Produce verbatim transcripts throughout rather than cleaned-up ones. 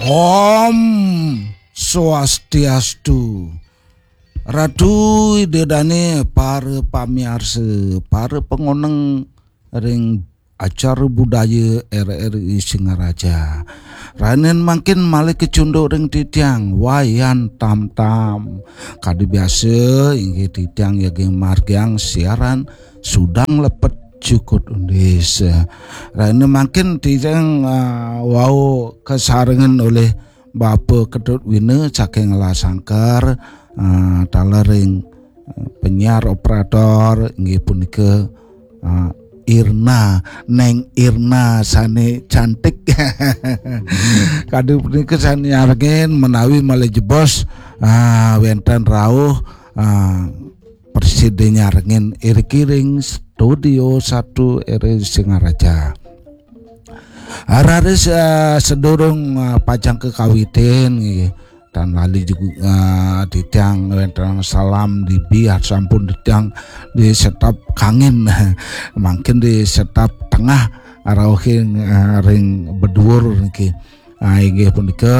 Om Swastiastu. Ratu Ida Dane, para pamiarsa, para pangoneng ring acara budaya R R I Singaraja. Ranin mangkin malih kecunduk ring titiang Wayan Tamtam. Kadi biasa inggih titiang yaging margiang siaran sudang lepet cukut undis. Ranin mangkin titiang, ah, wau kasarengan olih Bapa Ketut Wina saking Lasangkar, ah, taler ring, ah, penyiar operator inggih punika, ah, Irna, Neng Irna sane cantik. Kadi punika sane nyarengin menawi malih jebos, ah, wenten rauh, ah, prasida nyarengin iriki ring Studio Satu R R I Singaraja. Raris, eh, sedurung, eh, pacang kakawitin nggih, tan lali juga, eh, titiang wenten salam dibi sampun titiang di setap kangin. Mangkin di setap tengah rauhing, eh, ring beduur niki. Ah, inggih punika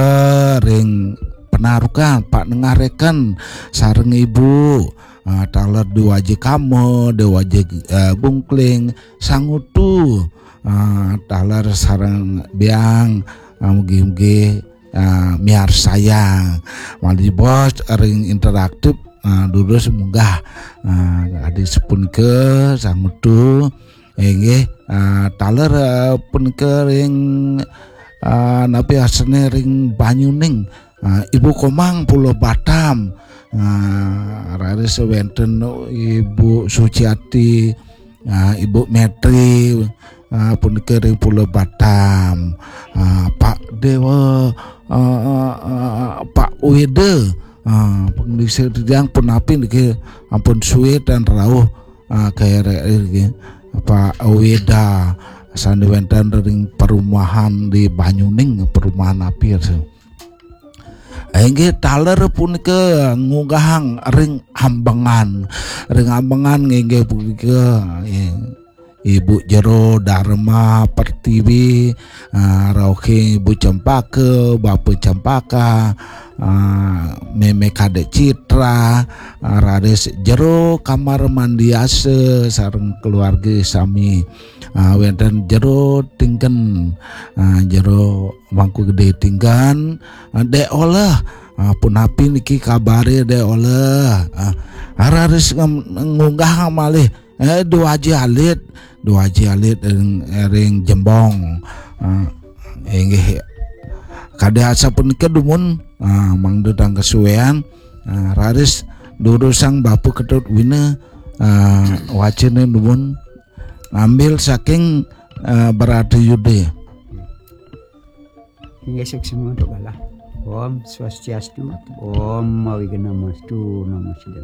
ring panarukan Pak Nengah Reken sareng Ibu, ah, taler Dewaji Kama, Dewaji, eh, Bungkling, Sangutu, ah, taler sareng Biang, ah, mugi-mugi, ah, miarsayang. Malih jebos ring interaktif, ah, durus munggah, ah, adi sapunika Sangutu, inggih, ah, taler, ah, punika ring, ah, napi asane ring Banyuning, ah, Ibu Komang Pulau Batam, ah, raris wenten Ibu Suciati, ah, Ibu Metri, ah, punika ring Pulau Batam, ah, Pak Dewa, ah, ah, ah, Pak Weda, ah, pangdisa titiang punapi niki ampun suwe tan rauh, ah, ke R R I niki. Pak Weda sane wenten ring perumahan di Banyuning, perumahan api rasa. Inggih taler punika ngunggahang ring Ambengan. Ring Ambengan inggih punika, eh, Ibu Jero Dharma Pertiwi, ah, rauhing Ibu Cempaka, Bapa Cempaka, ah, Meme Kadek Citra, ah, raris Jero Kamar Mandiasa sareng keluarga sami. Ah, wenten Jero Tinggen, ah, Jero Mangku Gede Tinggen, ah, Dek Oleh, ah, punapi niki kabare Dek Oleh, ah, raris ngem-, ngunggah malih, eh, Dua Aji Alit, Dua Aji Alit ring, ring Jembong, ah, inggih kadi asapunika dumun, ah, mangda tan kasuean, ah, raris durusang Bapa Ketut Wina, ah, wacana dumun ngambil saking, eh, Bharatayuddha. Inggih suksma untuk galah. Om Swastiastu, Om Awighnamastu, Namo Siddham.